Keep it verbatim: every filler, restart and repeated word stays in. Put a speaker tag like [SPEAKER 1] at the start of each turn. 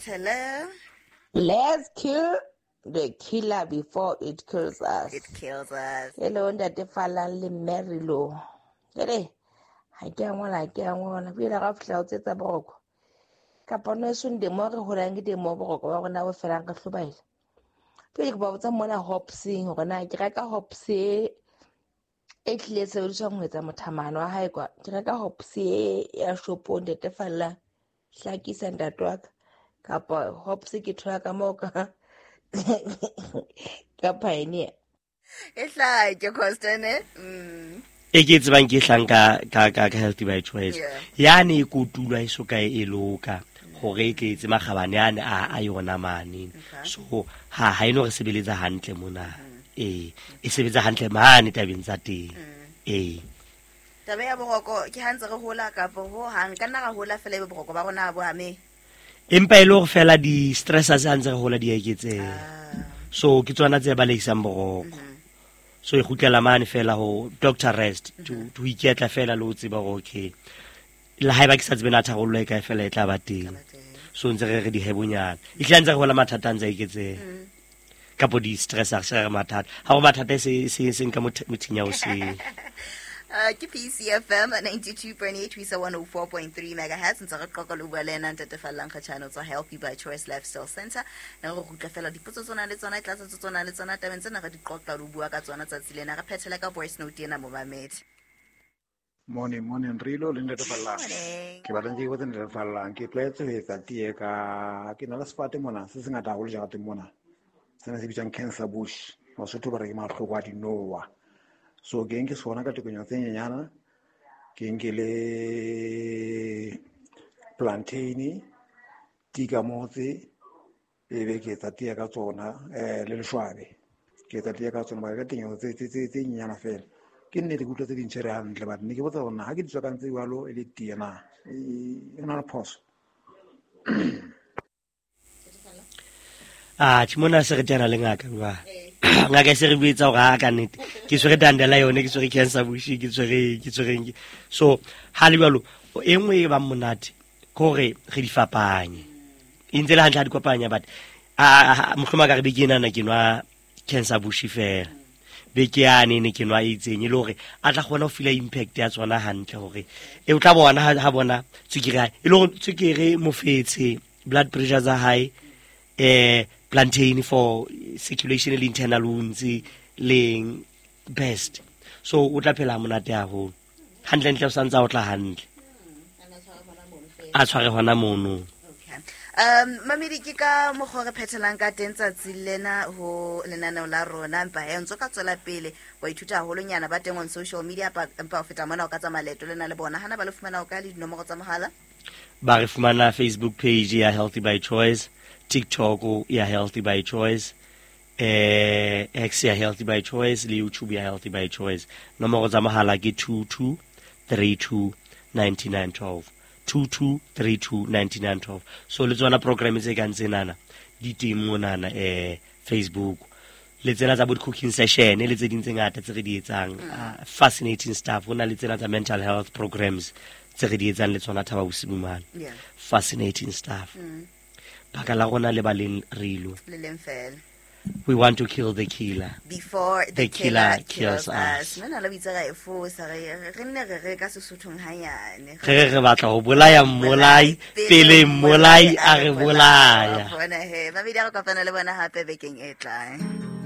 [SPEAKER 1] phethele.
[SPEAKER 2] Let's kill the killer before it kills us.
[SPEAKER 1] It kills us.
[SPEAKER 2] Hello, Ntate Fallang le Mary Lo. Jwale ha ke a ngola, ha ke a ngola. Pele ga fihla o tsetsa boroko. Kapa no eso nde mo re holang ke teng mo boroko ba rona bo felang re hlobaela. Pele ke ba botsa mona Hopsing hore na ke reka Hops e e tlile sebediswang ho etsa mothamano wa hae kwa. Ke reka Hops e ya shopong Ntate Fallang. Hlakisa ntate wa ka. Kapa Hops ke thola ka moo ka ka Pioneer.
[SPEAKER 1] E hlake Constant, eh? Mm.
[SPEAKER 3] E ke tsebang ke hlang ka ka ka ka Healthy by Choice.
[SPEAKER 1] Yeah.
[SPEAKER 3] Yane e kotulwa e so kae e loka hore e tle etse makgabane ane a a yona mane.
[SPEAKER 1] Okay.
[SPEAKER 3] So ha ha eno re sebeletsa hantle mona.
[SPEAKER 1] Mm.
[SPEAKER 3] Eh, e sebetsa hantle mane tabeng tsa teng.
[SPEAKER 1] Mm.
[SPEAKER 3] Eh.
[SPEAKER 1] Taba ya boroko ke ha ntse re hola kapa ho hang ka nna ra hola fela ebe boroko ba rona bo ame.
[SPEAKER 3] Empa e le hore fela di stressors ha ntse re hola di eketseha.
[SPEAKER 1] Ah.
[SPEAKER 3] So ke tsona tse balehisang boroko.
[SPEAKER 1] Mm-hmm.
[SPEAKER 3] So e kgutlela mane fela ho doctor rest to
[SPEAKER 1] Mm-hmm.
[SPEAKER 3] to iketla fela le ho tseba hore okay. Le haeba ke sa tsebe na tharollo e kae fela e tla ba teng.
[SPEAKER 1] Tla ba teng.
[SPEAKER 3] So ntse re re dihebonyana. E tla ntse re hola mathata a ntse a eketseha.
[SPEAKER 1] Mm.
[SPEAKER 3] Kapo di stressors re re mathata. Ha ho mathata se se seng ka mothe-, mothinya o seng.
[SPEAKER 1] Uh, ke P C F M ninety-two point eight, we saw one oh four point three megahertz. Ntse re qoqa le bua le ena Ntate Fallang Kgatjhane tswa Healthy by Choice Lifestyle Center. Ne re rutla fela dipotso tsona le tsona, tlatsetso tsona le tsona, tabeng tsena re di qoqa le bua ka tsona tsatsi lena. Re phethela ka voice note ena momamedi.
[SPEAKER 4] Morning, morning, Rilo le Ntate Fallang.
[SPEAKER 1] Morning.
[SPEAKER 4] Ke batla ntse ke botsa Ntate Fallang, ke tlwaetse ho etsa tee ka, ke na le sefate mona se sengata haholo jarateng mona. Sena se bitswang cancer bush. Basotho ba re ke mahloko a dinowa. So ke nke sona ka tekanyo tse nyenyana, ke nke le plantain, tika motse, e be ke etsa tee ka tsona, eh, le leshwabe. Ke etsa tee ka tsona, mara ka tekanyo tse, tse, tse, tse nyenyana fela. Ke nnete ke utlwa tse ding tjhere hantle, but ne ke botsa hore na ha ke di tswakantse jwalo e le tee na, e, e na le phoso?
[SPEAKER 3] Ah, tjhe, mona se re teana le ngaka jwale. Ngaka e se re buetsa hore ha ka nnete ke tshwere dandela yone, ke tshwere cancer bush, ke tshwere, ke tshwere eng. So ha le jwalo, e nngwe e bang monate ke hore re di fapanye. E ntse le hantle ha di kopanya, but a, a, a, mohlomong ka re beke enana ke nwa cancer bush fela. Beke yane ne ke nwa e itseng, e le hore a tla kgona ho feel impact ya tsona hantle hore e o tla bona ha, ha bona tswekere ya hae. E le hore tswekere mofetshe, blood pressure tsa hae, eh, plantain for circulation le internal wounds leng best. So o tla phela monate haholo. Hantle ntle o santsa o tla hantle. A tshware hona mono.
[SPEAKER 1] Okay. Um, mamedi ke ka mokgwa re phethelang ka teng tsatsi lena ho lenaneo la rona, empa he ntse ka tswela pele wa ithuta haholonyana ba teng on social media, pa-, empa ho feta mona o ka tsamaya leeto lena le bona. Hana ba le fumana o kae le dinomoro tsa mohala?
[SPEAKER 3] Ba re fumana Facebook page ya Healthy by Choice, TikTok ya Healthy by Choice, eh, X ya Healthy by Choice le YouTube ya Healthy by Choice. Nomoro tsa mohala ke two two three two ninety nine twelve. two two three two ninety nine twelve. So le tsona program tse kang tsenana di teng monana, eh, Facebook. Le tsena tsa bo cooking session le tse ding tse ngata tse re di etsang,
[SPEAKER 1] Mm.
[SPEAKER 3] ah, fascinating stuff. Ho na le tsena tsa mental health programs tse re di etsang le tsona Thaba Bosiu mane.
[SPEAKER 1] Yeah.
[SPEAKER 3] Fascinating stuff.
[SPEAKER 1] Mm.
[SPEAKER 3] Baka la rona le ba leng rilo.
[SPEAKER 1] Le leng fela.
[SPEAKER 3] We want to kill the killer.
[SPEAKER 1] Before the
[SPEAKER 3] The killer
[SPEAKER 1] killer kills
[SPEAKER 3] kills
[SPEAKER 1] us.
[SPEAKER 3] us.
[SPEAKER 1] Nna la bitsa ra e fosa, re, re nne re re ka Sesothong hanyane.
[SPEAKER 3] Re re re batla ho bolaya mmolai, pele mmolai a re bolaya.
[SPEAKER 1] Bona he, ba bidi re kopana le bona hape bekeng e tlang.